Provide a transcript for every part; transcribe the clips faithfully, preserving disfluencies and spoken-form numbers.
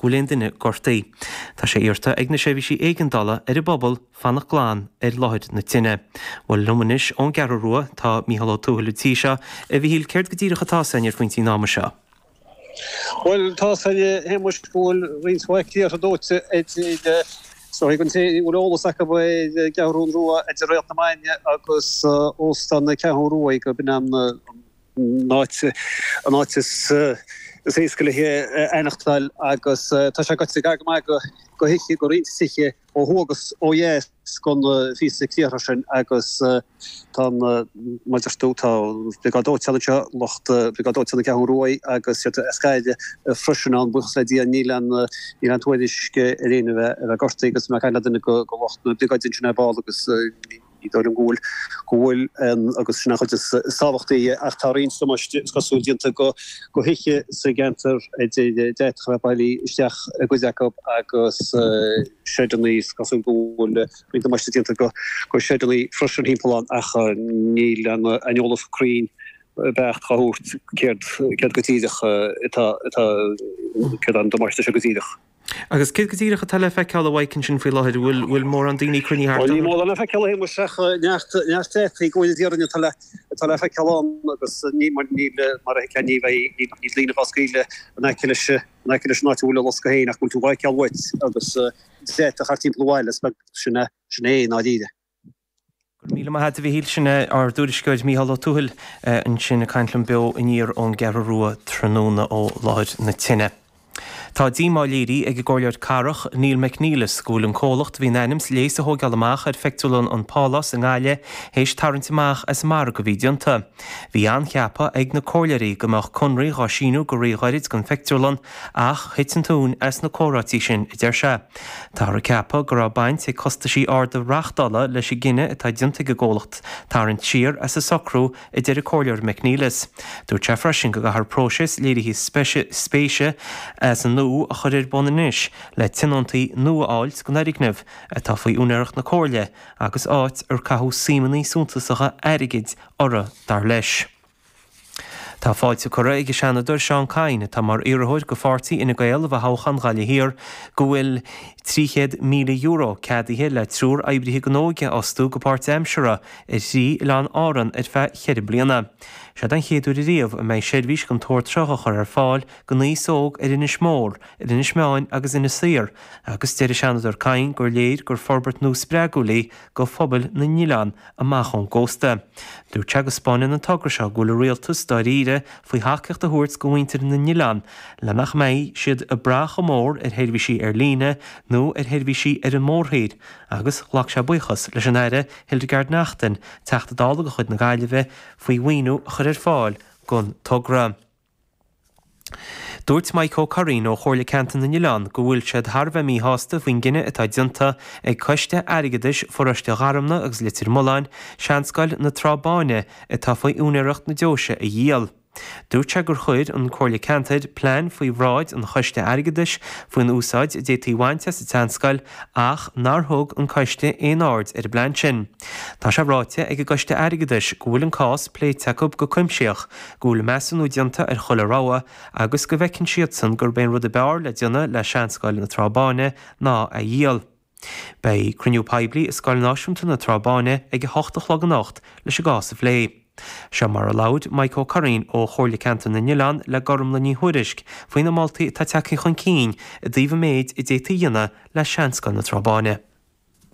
go bhfuil aon duine gortaithe. Tá sé iarrta ag na seirbhísí éigeandála ar an bpobal fanacht glan ar láthair na tine. Bhuel liom anois ón gCeathrú Rua tá Mícheál Ó Tuathail an tí seo a Mhíchíl céard go díreach atá againn ar phointí an ama seo. Bhuel tá Shéamuis go bhfuil roinnt mhaith criathra dóite idir so an té a bhfuil eolas acu ar an gCeathrú Rua idir Réalt na Maidne agus Óstán na Ceathrún Rua go b'in an áit an áit is is éasca le haireachtáil agus tá sé goite gar go maith go go thithe go roinnt tithe ó thuaidh agus ó dheas den phíosa criathra sin agus tá mar a deir tú tá briogáid dóiteáin anseo lucht briogáid dóiteáin na Ceathrún Rua agus siad as Gaillimh freisin ann buíochas le Dia níl an níl an tuairisc ar éinne a bheith a bheith gortaithe agus mé ag caint le duine go go lucht na briogáide ansin ar ball agus ní dóigh liom go bhfuil go bhfuil agus sin an chuid is tábhachtaí ach tá roinnt damáiste is cosúil déanta go go thithe sa gceantar idir d'fhéadfadh a bheith bailithe isteach i gcuid acu agus seideanna is cosúil go bhfuil roinnt damáiste déanta go go seideanna freisin timpeall ann ach níl an an eolas cruinn beacht á thabhairt céard céard go díreach atá atá céard an damáiste seo go díreach. Agus céard go díreach atá le feiceáil a Mhaidhc ansin faoi láthair bhfuil bhfuil mórán daoine cruinnithe thart Ní mórán le feiceáil Shéamuis ach neart neart deataí go bhfuil d'iarraidh atá le atá le feiceáil ann agus ní mar níl mar a thuigfeá ní bheidh níl daoine á scaoileadh in aice leis in aice leis an áit a bhfuil an loscadh féin ach go bhfuil tú á fheiceáil uait agus deatacha thart timpeall an bhaile is beag sin é sin é i ndáiríre. Míle maith agat a Mhíchíl sin ár dtuairisceoir Mícheál Ó Tuathail ansin ag caint liom beo aniar ón gCeathrú Rua tráthnóna ó láthair na tine. Tá díomá léirithe ag an gcomhairleoir cathrach Neil McNeilis go bhfuil an comhlacht a bhí in ainm is léas a thógáil amach ar phictiúrlann an Pálás i nGaillimh théis tarraingt amach as an margadh a bhí déanta. Bhí an-cheapadh ag na comhairleoirí go mbeadh conradh á síniú go ríghairid don phictiúrlann ach thit an tóin as na comhráití sin a deir sé. Táthar ag ceapadh go raibh baint ag costaisí arda reachtála leis an gcinneadh atá déanta ag an gcomhlacht tarraingt siar as an socrú a deir an comhairleoir McNeilis. Dúirt sé freisin go gcaithfear próiseas léirithe spéise as an nua a chur ar bun anois le tionóntaí nua a fháil don fhoirgneamh atá faoi úinéireacht na comhairle agus áit ar caitheadh suimeanna suntasacha airgid orthu dar leis. Tá fáilte curtha ag an Seanadóir Seán Kyne atá mar iarrthóir do pháirtí Fhine Gael i dtoghchán Ghaillimh Thiar go bhfuil trí chéad míle euro ceadaithe le triúr oibrithe don óige a fhostú go páirtaimseartha ar thrí oileán Árann ar feadh cheithre bliana. Sé an chéad uair riamh a mbeidh seirbhís den tsórt seo á chur ar fáil don aos óg ar Inis Mór, ar Inis Meáin agus Inis Oírr, agus deir an Seanadóir Kyne gur léir gur forbairt nua spreagúil í do phobail na n-oileán amach ón gcósta. Dúirt sé go spáineann an togra seo go bhfuil an rialtas dáiríre faoi thacaíocht a thabhairt do mhuintir na n-oileán le nach mbeidh siad ag brath chomh mór ar sheirbhísí ar líne nó ar sheirbhísí ar an mórthír, agus ghlac sé buíochas leis an Aire Hildegarde Naughton, Teachta Dála de chuid na Gaillimhe faoi mhaoiniú a chur ar fáil don togra. Dúirt Mike Ó Curraoin ó Chomhairle Ceantar na nOileán go bhfuil siad thar a bheith míshásta faoin gcinneadh atá déanta ag Coiste Airgeadais Pharóiste Gharmna agus Leitir Mealláin Seanscoil na Trá Báine atá faoi úinéireacht na deoise a dhíol. Dúirt sé gur chuir an Comhairle Ceantair plean faoi bhráid an Choiste Airgeadais faoin úsáid a d'fhéadfaí bhaint as an tseanscoil ach nár thug an coiste aon aird ar an bplean sin. Tá sé ráite ag an gCoiste Airgeadais go bhfuil an cás pléite acu go cuimsitheach, go bhfuil measúnú déanta ar chuile rogha agus go bhfeiceann siadsan gurb é an rud ab fhearr le déanamh le Seanscoil na Trá Báine ná a dhíol. Beidh cruinniú poiblí i Scoil Náisiúnta na Trá Báine ag a hocht a chlog anocht leis an gcás a phlé. Seo mar a labhair Mike Ó Curraoin ó Chomhairle Ceantar na nOileán le Gormlaith Ní Thuairisg faoi na moltaí atá tagtha chun cinn i dtaobh an méid a d'fhéadfaí a dhéanamh le Seanscoil na Trá Báine.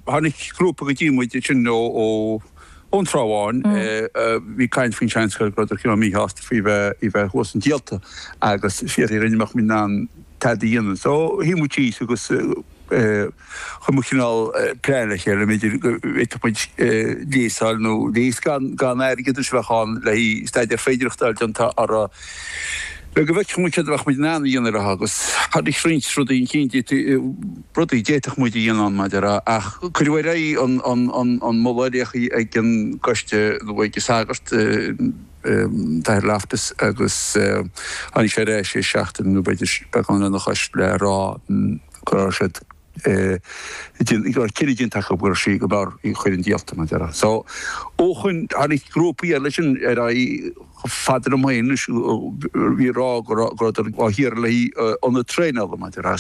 Tháinig grúpa go dtí muid sin ó ó ón Trá Bháin bhí caint faoin seanscoil go raibh cineál míshásta faoi bheith í bheith thuas an díolta agus fiafraí rinne mbeadh muid in ann tada a dhéanamh. So shuigh muid síos agus chuir muid cineál plean le chéile b'fhéidir go bhféadfadh muid léas a fháil nó léas gan gan airgead a bheadh ann le haghaidh staidéar féidearthachta a fháil déanta orthu le go bhfeicfeadh muid céard a bheadh muid in ann a dhéanamh leo agus tháinig roinnt rudaí chun cinn rudaí d'fhéadfadh muid a dhéanamh ann maidir ach cuireadh ar aghaidh an an an an moladh a ag an gcoiste nó ag an sagart Athair Loftus agus tháinig sé ar ais sé seachtain nó b'fhéidir beagán lena chois le rá go raibh siad go raibh cinneadh déanta acu go raibh sí go mb'fhearr í a chur chun díolta mar a déarfá. So ó shin tháinig grúpaí eile sin ar aghaidh chomh fada liom féin anois bhí ag rá go raibh go rabhadar á hiarraidh le haghaidh ionad traenála mar a déarfá.